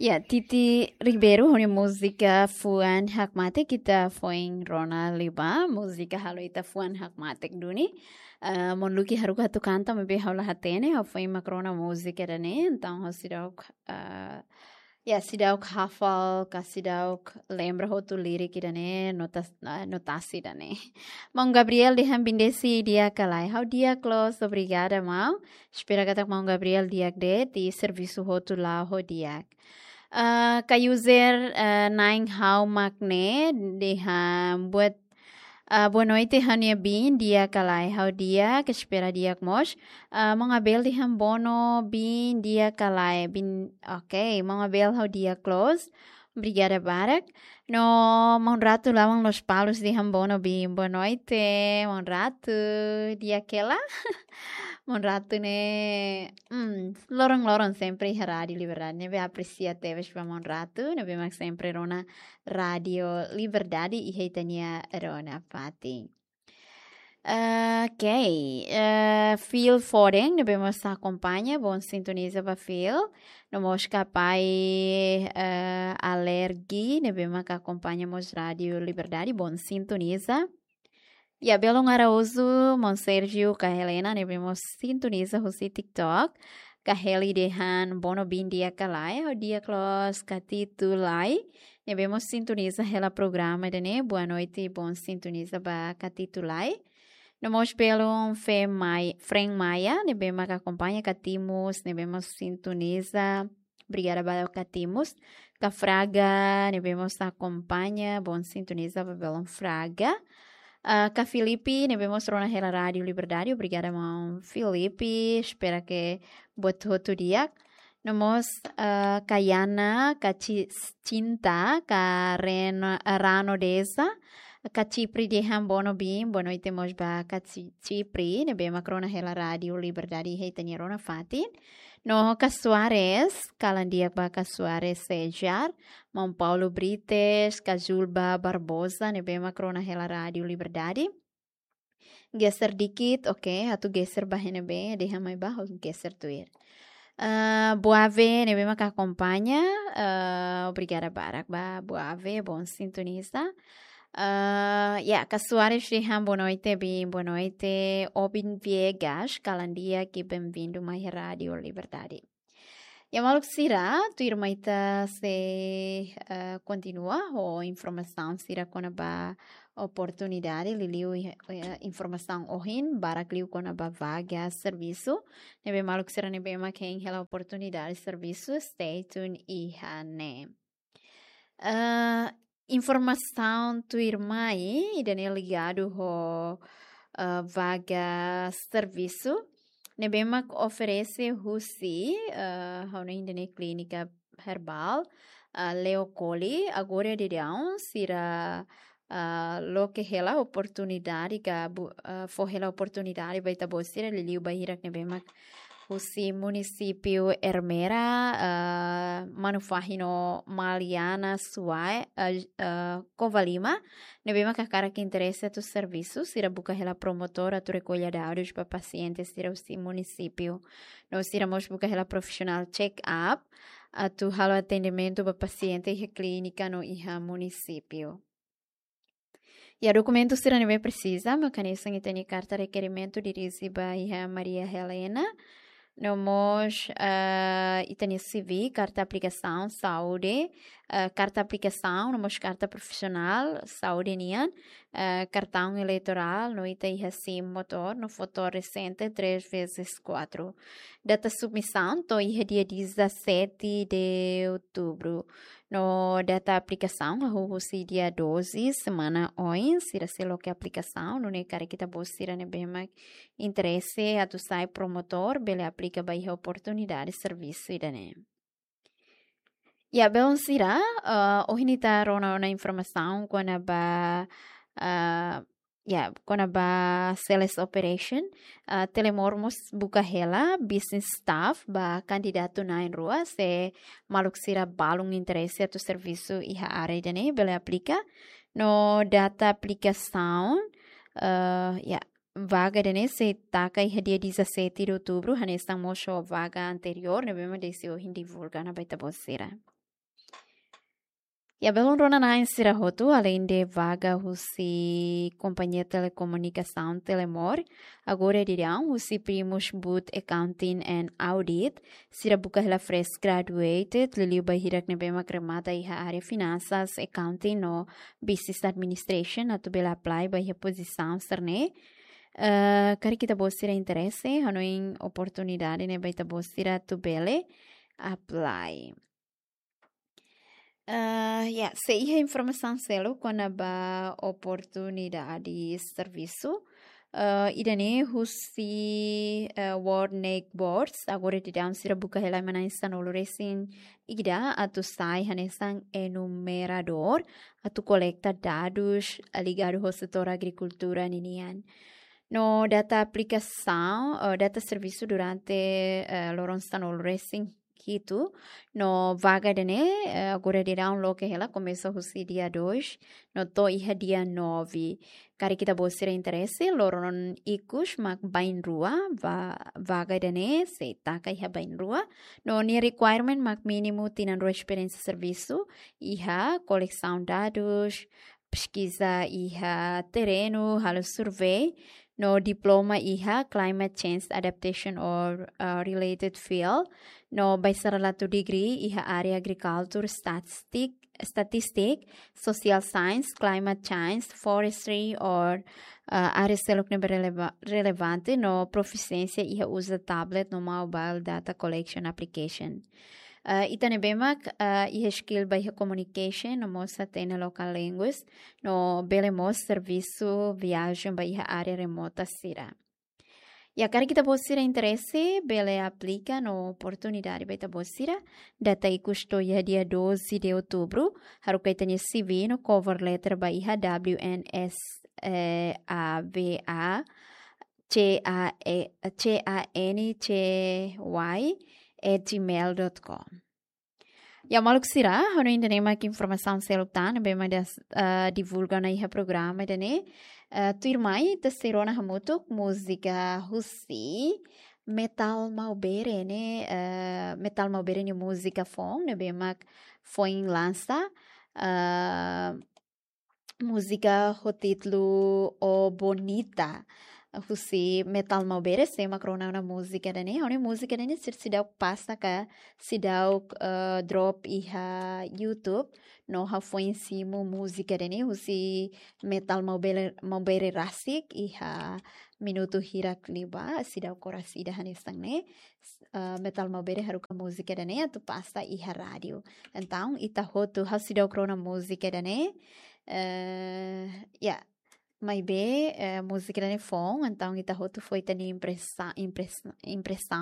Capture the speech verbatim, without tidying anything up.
Ya, Titi Ribeiro ho nia múzika Fuan Hakmatek, ita foin rona liu ba, múzika halo ita fuan hakmatek duni. Ah, Mon Luki haruka atu kanta, maibé ha'u la hatene, ha'u foin mak rona múzika ida-ne'e, entaun ha'u seidauk, ah, ya, seidauk hafal, ka seidauk lembra hotu lirik ida-ne'e, nota, ah, notasi ida-ne'e. Maun Gabriel dehan: "Bendisi di'ak ka lae?" Ha'u di'ak loos, obrigada, maun. Espera katak Maun Gabriel di'ak de'it, i servisu hotu la'o ho di'ak. Ah, ka user, ah, na'in ha'u mak ne'e, dehan: "Boa, ah, boa noite, ha'u-nia biin di'ak ka lae?" Ha'u di'ak, espera di'ak mós. Ah, Maun Abel dehan: "Bono, biin di'ak ka lae?" Biin, oke, Maun Abel, ha'u di'ak loos. Obrigada barak. No Maun Ratu Lawang Lospalos dehan: "Bono, biin." Boa noite, Maun Ratu. Di'ak hela. Maun Ratu ne'e, hmm, loron-loron sempre iha Rádiu Liberdade, ne'ebé apresia tebes ba Maun Ratu, ne'ebé mak sempre rona Rádiu Liberdade iha ita-nia rona fatin. Ok, eh, Phil Foden, ne'ebé mós akompaña, bom sintoniza ba Phil. No mós kapai, eh, Alergi, ne'ebé mak akompaña mós Rádiu Liberdade, bom sintoniza. Ya, belun Araújo, Maun Sérgio, ka Helena, ne'ebé mós sintoniza husi TikTok. Ka Heli dehan: "Bono, biin di'ak ka lae?" Ha'u di'ak loos, Katitulai, ne'ebé mós sintoniza hela programa ida-ne'e. Boa noite, bom sintoniza ba Katitulai. No mós belun Fe Mai-, Fren Maia, ne'ebé mak akompaña, Katimus, ne'ebé mós sintoniza. Obrigada ba Katimus. Ka Fraga, ne'ebé mós akompaña, bom sintoniza ba belun Fraga. Ah, ka Filipe, ne'ebé mós rona hela Rádiu Liberdade. Obrigada, Maun Filipe. Espera ke buat hotu di'ak. No mós, ah, ka Yana, ka Ci-, Cinta, ka Ren-, Rano Deza, ka Cipri dehan: "Bono, biin." Boa noite mós ba ka Ci-, Cipri, ne'ebé mak rona hela Rádiu Liberdade iha ita-nia rona fatin. No ka Soares, kalan di'ak ba ka Soares Sejar, Maun Paulo Brites, ka Julba Barbosa, ne'ebé mak rona hela Rádiu Liberdade. Geser dikit, oke, atu geser ba iha ne'ebé, dehan mai ba, ha'u geser tuir. Ah, Boave, ne'ebé mak akompaña, ah, obrigada barak ba Boave, bom sintoniza. Ah, ya, ka Soares dehan: "Boa noite, biin." Boa noite, Obin Viegas, kalan di'ak i bem-vindu mai Rádiu Liberdade. Ya, maluk sira, tuirmai ita sei, eh, kontinua ho informasaun sira kona-ba oportunidade, liuliu, eh, informasaun ohin barak liu kona-ba vaga servisu. Ne'ebé maluk sira ne'ebé mak hein hela oportunidade servisu, stay tuned iha ne'e. Eh, informasaun tuirmai ida-ne'e ligadu ho, eh, vaga servisu ne'ebé mak oferese husi, eh, ha'u hanoin ida-ne'e Clínica Herbal, eh, Leo Colli, agora daudaun sira, eh, loke hela oportunidade ka bu-, eh, fó hela oportunidade ba ita-boot sira, liuliu ba hirak ne'ebé mak husi munisípiu Ermera, eh, Manufahi no Maliana Suai, eh, eh, Covalima, ne'ebé mak hakarak interese atu servisu, sira buka hela promotór atu rekolla dadus ba pasiente sira husi munisípiu. No sira mós buka hela profisionál check-up atu halo atendimentu ba pasiente iha klínika no iha munisípiu. Ya, dokumentu sira ne'ebé presiza, mak hanesan ita-nia karta rekerimentu dirije ba iha Maria Helena. No mós, eh, ita-nia C V, karta aplikasaun saúde, eh, karta aplikasaun, no mós karta profisionál saúde nian, eh, kartaun eleitorál, no ita iha SIM motór, no foto resente três vezes quatro. Data submisaun to'o iha dia dezassete de outubro. No data aplikasaun hahú husi dia doze, semana oin, sira sei loke aplikasaun, nune'e karik ita-boot sira ne'ebé mak interese atu sai promotór, bele aplika ba iha oportunidade servisu ida-ne'e. Ya, belun sira, eh, ohin ita rona ona informasaun kona-ba, eh, ya, kona-ba sales operation, eh, Telemor mós buka hela business staff ba kandidatu na'in-rua, se maluk sira balun interese atu servisu iha área ida-ne'e, bele aplika. No data aplikasaun, eh, ya, vaga ida-ne'e sei taka iha dia dezassete de outubro, hanesan mós ho vaga anteriór, ne'ebé mak desde ohin divulga ona ba ita-boot sira. Ya, belun rona-na'in sira hotu, além de vaga husi Kompañia Telekomunikasaun Telemor, agora daudaun husi Primus Boot Accounting and Audit, sira buka hela fresh graduated, liuliu ba hirak ne'ebé mak remata iha área finansas, accounting no business administration, atu bele apply ba iha pozisaun sira-ne'e. Eh, karik ita-boot sira interese, hanoin oportunidade ne'e ba ita-boot sira atu bele apply. Eh, ya, sei iha informasaun seluk kona-ba oportunidade servisu. Eh, ida-ne'e husi, eh, World Naked Boards, agora daudaun sira buka hela ema na'in sanulu-resin-ida atu sai hanesan enumeradór, atu kolekta dadus, eh, ligadu ho setór agrikultura ninian. No data aplikasaun, eh, data servisu durante, eh, loron sanulu-resin-hitu. No vaga ida-ne'e, eh, agora daudaun loke hela, komesa husi dia dois, no to'o iha dia nove. Karik ita-boot sira interese, loron ikus mak bainrua, va-, vaga ida-ne'e sei taka iha bainrua. No nia requirement mak mínimu tinan rua esperiénsia servisu iha kolesaun dadus, peskiza iha terrenu, halo survey, no diploma iha climate change adaptation or, uh, related field, no bacharelatu degree iha área agriculture, statistic, statistic, social science, climate change, forestry or, uh, área seluk ne'ebé releva-, relevante, no profisiénsia iha uza tablet no mobile data collection application. Eh, ita ne'ebé mak, eh, iha skill ba iha communication, no mós hatene local language, no bele mós servisu viajen ba iha área remota sira. Ya, karik ita-boot sira interese, bele aplika no oportunidade ba ita-boot sira. Data ikus to'o iha dia doze de outubro, haruka ita-nia C V no cover letter ba iha W N S, eh, A V A, C A E, C A N C Y at gmail dot com. Ya, maluk sira, hanoin ida-ne'e mak informasaun seluk tan ne'ebé mak ita, eh, divulga ona iha programa ida-ne'e. Eh, tuirmai, ita sei rona hamutuk múzika husi Metal Maubere ne'e, eh, Metal Maubere nia múzika foun, ne'ebé mak foin lansa, eh, múzika ho títulu O Bonita, husi Metal Maubere, sé mak rona ona múzika ida-ne'e. Ha'u-nia múzika ida-ne'e sira seidauk pasa ka, seidauk, eh, drop iha YouTube, no ha'u foin simu múzika ida-ne'e husi Metal Maubere, Maubere rasik iha minutu hirak liubá, seidauk oras ida hanesan ne'e. Eh, Metal Maubere haruka múzika ida-ne'e atu pasa iha rádiu. Entaun, ita hotu, ha'u seidauk rona múzika ida-ne'e. Eh, ya, maibé, eh, múzika ida-ne'e foun, entaun ita hotu fó ita-nia impresa-, impresa-, impresaun